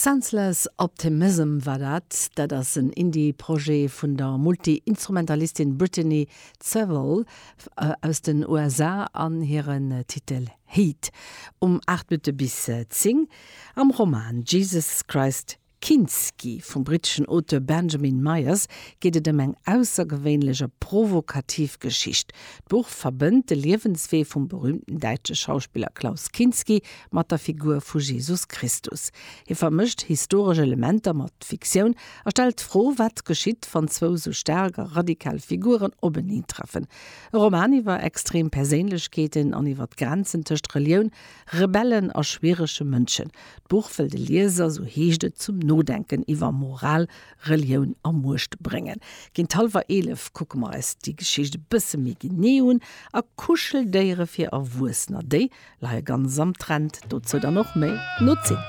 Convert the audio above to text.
Senseless Optimism war dat. Dat ass en Indie-Projet vun der Multi-Instrumentalistin Brittany Sewell aus den USA an hiren Titel Heat. Um 8 Minutte bis 10 am Roman Jesus Christ Kinski vum britteschen Auteur Benjamin Myers geet et ëm eng aussergewéinlech a provokativ Geschicht. D'Buch verbënnt de Liewenswee vum berüümten däitsche Schauspiller Klaus Kinski mat der Figur vu Jesus Christus. Hie vermëscht historesch Elementer mat Fiktioun a stellt d'Fro, wat geschitt, wann zwou sou staark a radikal Figuren openeentreffen. E Roman iwwer extrem Perséinlechkeeten an iwwer d'Grenzen tëscht Relioun, Rebellen a schwierege Mënschen. D'Buch wëll de Lieser, sou heescht et, zum Nodenken iwwer Moral, Relioun a Muecht bréngen. Géint hallwer 11 kucke mer eis déi Geschicht e bësse méi genee un. A Kuscheldéiere fir Erwuessener, déi leie ganz am Trend. Dozou dann och méi no 10.